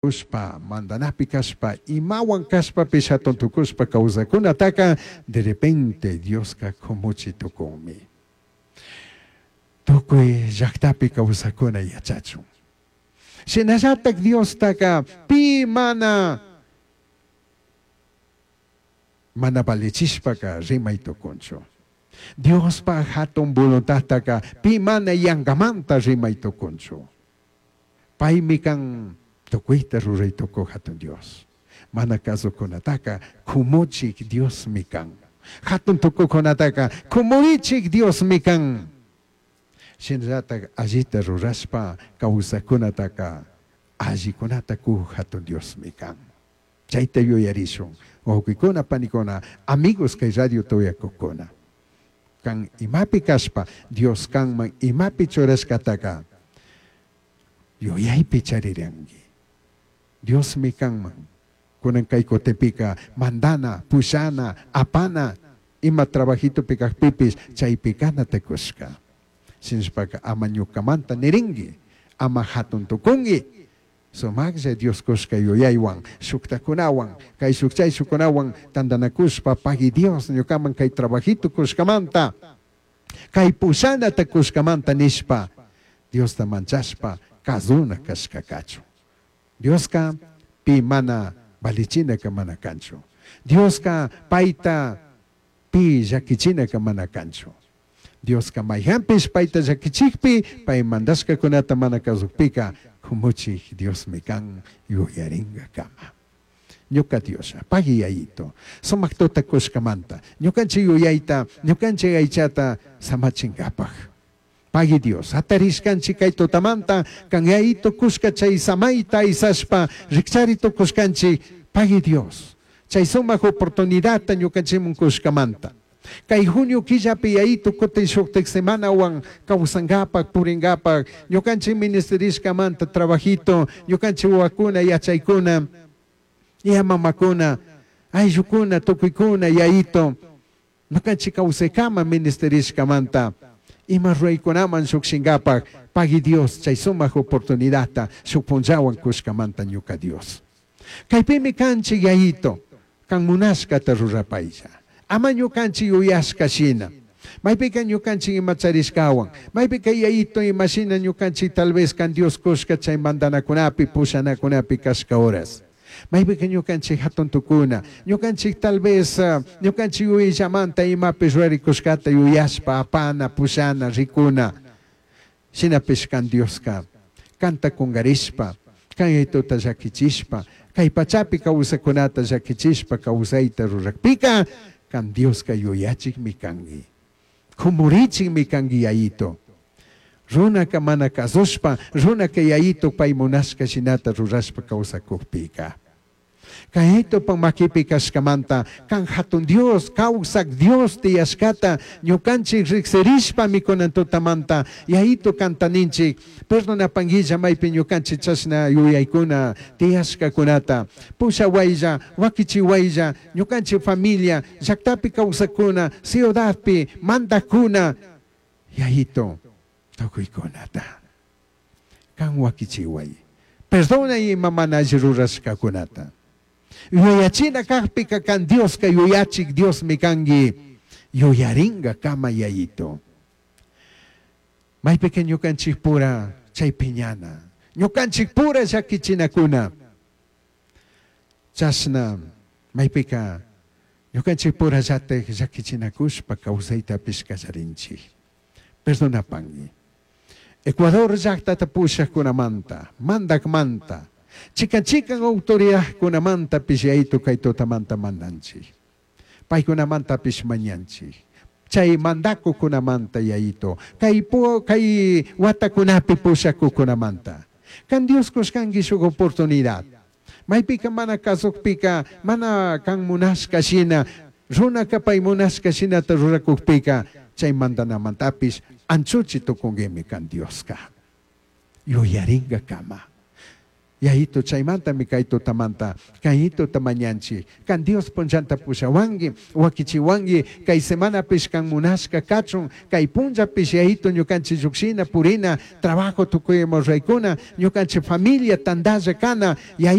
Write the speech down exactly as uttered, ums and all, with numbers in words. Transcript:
Tukushpa, mandanapi kashpa, imawan kashpapish hatun tukushpa kawsakunataka de repente Dioska kumuchi tukunmi. Tukuy llaktapi kawsakuna yachachun. Shinallatak Diostaka pi mana mana valichishpaka rimay tukunchu. Diospa hatun voluntadtaka pi mana yankamanta rimay tukunchu. Paymi kan tukuyta ruray tukuq hatun Dios. Mana kasukunataka kumuchik Diosmi kan. Hatun tukuqkunataka kumurichik Diosmi kan. Shinallatak allita rurashpa kawsaqkunataka allikunata kuq hatun Diosmi kan. Chayta yuyarishun. Wawqikuna, panikuna, amigos kay radio tuyakukuna. Kan imapi kashpa Dios kanman imapi churashkataka yuyaypi chariranki. Diosmi kanman. Kunan kay kutipika mandana, pushana, apana, ima trabajitopi kajpipis chaypi kanata kushka. Shinashpaka ama ñukamanta nirinki, ama hatun tukunki. Sumaqlla Dios kushka yuyaywan, shuktakunawan, kay shuk chay shukkunawan tantanakushpa pagui Dios ñukaman kay trabajito kushkamanta, kay pushanata kushkamanta nishpa, Diosta manchashpa kazuna kashka kachun. Dioska pi mana valichinaka mana kanchu. Dioska payta pi llakichinaka mana kanchu. Dioska mayhanpish payta llakichikpi, pay mandashkakunata mana kasukpika, kumuchik Diosmi kan yuyarinka kama. Ñuka Dios, pagui yayito, sumak tuta kushkamanta, ñukanchik yuyayta, ñukanchik aychata samachinkapaj. Pagui Dios, hatarishkanchik kay tutamanta, kan yayito kushka chay samayta aysashpa, rikchari tukushkanchik, pagui Dios, chay sumak oportunidadta ñukanchikmun kushkamanta. Kay junio killapi yayito kutin shuktik semanawan kawsankapak, purinkapak, ñukanchik ministerishkamanta trabajito, ñukanchik wawakuna, yachaykuna, ya mamakuna, ayllukuna, tukuykuna, yayito, ñukanchik kawsaykama ministerishkamanta, ima ruraykunaman llukshinkapak, pagui Dios chay sumak oportunidadta shuk punllawan kushkamanta ñuka Dios. Kaypimi kanchik yayito, kan munashkata rurapaylla. Ama ñukanchik yuyashka shina. Maypika ñukanchik ima charishkawan, maypika yayito imashina ñukanchik tal vez kan Dios kushka chay mandanakunapi, pushanakunapi kashka horas. Maypika ñukanchik hatun tukuna, ñukanchik tal vez uh, ñukanchik yuyallamanta imapi rurarikushkata yuyashpa, apana, pushana, rikuna. Shinapish kan Dioska, kanta kungarishpa, kan yayituta llakichishpa, kay pachapi kawsakunata llakichishpa kawsayta rurakpika, kan Dioska yuyachikmi kanki. Kumurichikmi kanki yayito. Runaka mana kasushpa, runaka yayito pay munashka shinata rurashpa kawsakukpika. Kayaytopa makipi kashkamanta, kan hatun Dios, kawsak Dios tiyashkata, ñukanchik riksirishpa mikunan tutamanta, yayito kantaninchik, perdonapanguilla maypi ñukanchik chashna yuyaykuna tiyashkakunata, pushawaylla, wakichiwaylla, ñukanchik familia, llaktapi kawsakuna, ciudadpi, mandakuna, yayito, tukuykunata. Kan wakichiway. Perdona ima mana alli rurashkakunata. Yuyachina kajpika kan Dioska yuyachik Diosmi kanki, yuyaringa kama yayito. Maypika ñukanchik pura chay piñana, ñukanchik pura llakichinakuna. Chashna maypika ñukanchik pura llatik llakichinakushpa kawsaytapish kallarinchik. Perdonapangi. Ecuador llaktata pushakkunamanta, mandakmanta, chikan chikan autoridadkunamanta yayito kay tutamanta mandanchik. Paykunamantapish mañanchik. Chay mandakukunamanta yayito, kay pu, kay watakunapi pushakukunamanta. Kan Dios kushkanki shuk oportunidad. Maypika mana kasukpika, mana kan munashka shina, runaka pay munashka shinata rurakukpika, chay mandanamantapis anchuchi tukunkimi kan Dioska. Yuyaringa kama. Yayitu chaimantami cai tutamanta can Yayituta mañanchij, can Dios punllanta pushahuangui, huaquichihuangui, cai semanapish can munashca cachun, cai punllapish Yayitu ñucanchij llujshina, purina, trabajo tucui ima ruraicuna, ñucanchij familia tandalla cana,